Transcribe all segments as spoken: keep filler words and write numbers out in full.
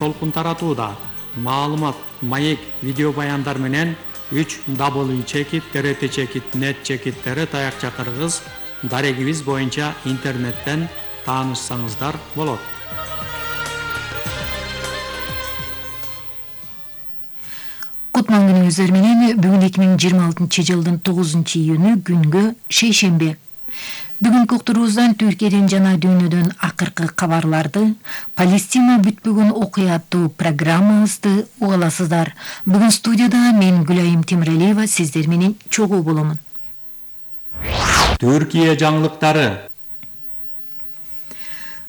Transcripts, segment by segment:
толкун таратууда. Маалымат, маек, видео баяндар менен үч дабл чекит т т чекит нет чекит таякча кыргыз дарегибиз боюнча интернеттен таанышсаңыздар болот. Кутман күнүңүздөр менен бүгүн эки миң жыйырма алтынчы жылдын тогузунчу июнү күнгө шейшемби. Бүгүнкү уктуруубуздан Түркияден жана дүйнөдөн акыркы кабарларды, Палестина бүтпөгөн окуя аттуу программабызды угаласыздар. Бүгүн студияда мен Гүлайым Темиралиева сиздер менен чогуу боломун. Түркия жаңылыктары.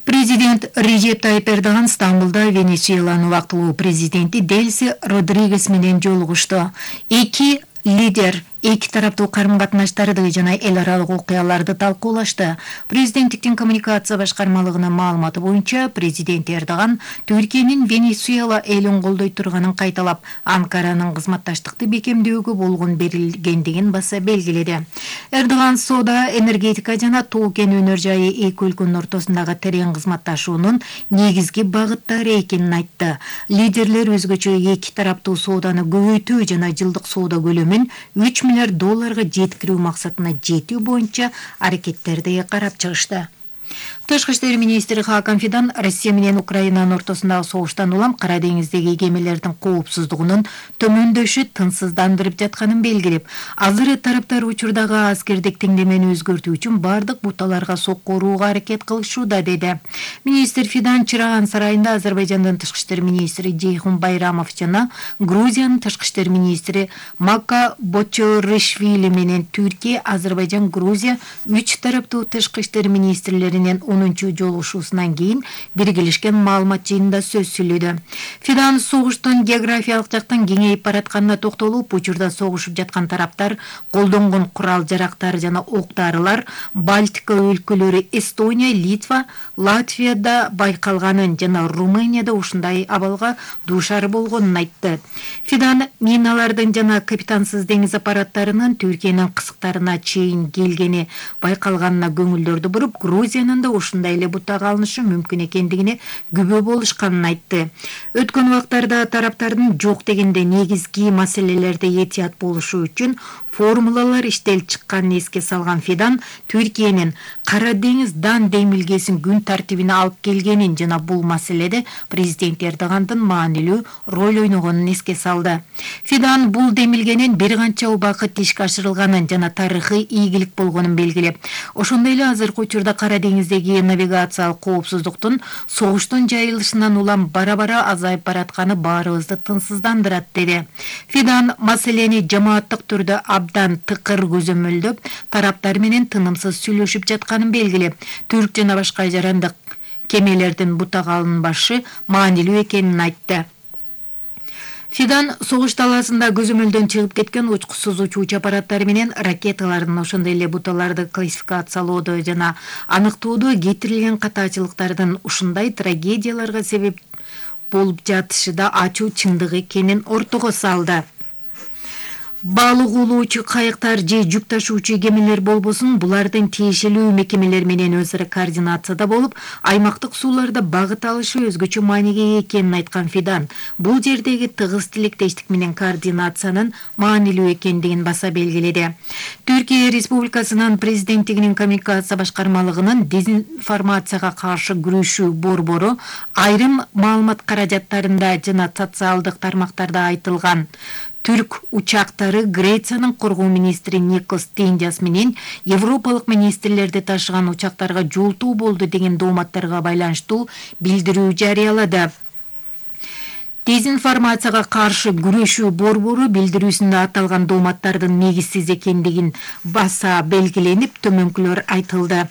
Президент Режеп Тайип Эрдоган Стамбулда Венесуэланын убактылуу президенти Делси Родригес менен жолугушту. Эки лидер эки тараптуу карым-катнаштарды жана эл аралык окуяларды талкуулашты. Президенттиктин коммуникация башкармалыгынын маалыматы боюнча президент Эрдоган Түркиянын Венесуэла элин колдой турганын кайталап, Анкаранын кызматташтыкты бекемдөөгө болгон берилгендигин баса белгиледи. Эрдоган соода, энергетика жана тоо кен өнөр жайы эки өлкөнүн ортосундагы терең кызматташуунун негизги багыттары экенин айтты. Лидерлер өзгөчө эки тараптуу сооданы көбөйтүү жана жылдык соода көлөмүн үч миллиард долларга жеткирүү максатына жетүү боюнча аракеттерди карап чыгышты. Тышкы иштер министри Хакан Фидан Россия менен Украинанын ортосундагы согуштан улам Кара деңиздеги кемелердин коопсуздугунун төмөндөшү тынчсыздандырып жатканын белгилеп, азыр тараптар учурдагы аскердик теңдемени өзгөртүү үчүн бардык буталарга сокко урууга аракет кылышууда деди. Министр Фидан Чыраган сарайында Азербайжандын тышкы иштер министри Жейхун Байрамов жана Грузиянын тышкы иштер министри Мака Бочоришвили менен Түркия, Азербайжан, Грузия үч тараптуу тышкы иштер министрлеринин онунчу жолугушуусунан кийин биргелешкен маалымат жыйынында сөз сүйлөдү. Фидан согуштун географиялык жактан кеңейип баратканына токтолуп, учурда согушуп жаткан тараптар колдонгон курал-жарактар жана ок-дарылар Балтика өлкөлөрү Эстония, Литва, Латвияда байкалганын жана Румынияда ушундай абалга дуушар болгонун айтты. Фидан миналардын жана капитансыз деңиз аппараттарынын Түркиянын кысыктарына чейин келгени байкалганына көңүлдөрдү буруп, Грузиянын да ушундай эле бутага алынышы мүмкүн экендигине күбө болушканын айтты. Өткөн убактарда тараптардын жок дегенде негизги маселелерде этият болушу үчүн формулалар иштелип чыкканын эске салган Фидан Түркиянын Кара деңиз дан демилгесин күн тартибине алып келгенин жана бул маселеде президент Эрдогандын маанилүү роль ойногонун эске салды. Фидан бул демилгенин бир канча убакыт ишке ашырылганын жана тарыхый ийгилик болгонун белгилеп, ошондой эле азыркы учурда Кара деңиздеги навигациялык коопсуздуктун согуштун жайылышынан улам бара-бара азайып баратканы баарыбызды тынчсыздандырат деди. Фидан маселени жамааттык түрдө абдан тыкыр көзөмөлдөп, тараптар менен тынымсыз сүйлөшүп жатканын белгилеп, түрк жана башка жарандык кемелердин бутага алынбашы маанилүү экенин айтты. Фидан согуш талаасында көзөмөлдөн чыгып кеткен учкусуз учуучу аппараттары менен ракеталардын, ошондой эле буталарды классификациялоодо жана аныктоодо кетирилген катаачылыктардын ушундай трагедияларга себеп болуп жатышы да ачуу чындык экенин ортого салды. Балык улуучу кайыктар же жүк ташуучу кемелер болбосун, булардын тиешелүү мекемелер менен өз ара координацияда болуп, аймактык сууларда багыт алышы өзгөчө мааниге ээ экенин айткан Фидан, бул жердеги тыгыз тилектештик менен координациянын маанилүү экендигин баса белгиледи. Түркия Республикасынын президенттигинин коммуникация башкармалыгынын дезинформацияга каршы күрөшүү борбору айрым маалымат каражаттарында жана социалдык тармактарда айтылган түрк учактары Грециянын коргоо министри Никос Тендиас менен европалык министрлерди ташыган учактарга жолтуу болду деген дооматтарга байланыштуу билдирүү жарыялады. Дезинформацияга каршы күрөшүү борбору билдирүүсүндө аталган дооматтардын негизсиз экендигин баса белгиленип, төмөнкүлөр айтылды.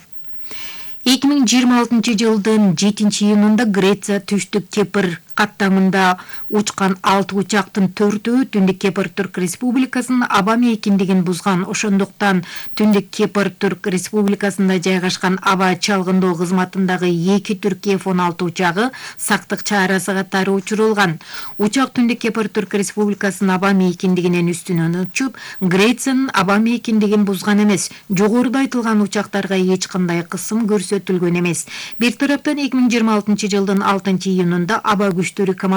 эки миң жыйырма алтынчы жылдын жетинчи июнунда Греция түштүк Кипр каттамында учкан алты учактын төртөө Түндүк Кипр Түрк Республикасынын аба мейкиндигин бузган. Ошондуктан Түндүк Кипр Түрк Республикасында жайгашкан аба чалгындоо кызматындагы эки Түрк эф он алты учагы сактык чарасы катары учурулган. Учак Түндүк Кипр Түрк Республикасынын аба мейкиндигинен үстүнөн учуп, Грециянын аба мейкиндигин бузган эмес. Жогоруда айтылган учактарга эч кандай кысым көрсөтүлгөн эмес. Бир тараптан эки миң жыйырма алтынчы жылдын алтынчы июнунда аба күчтөрү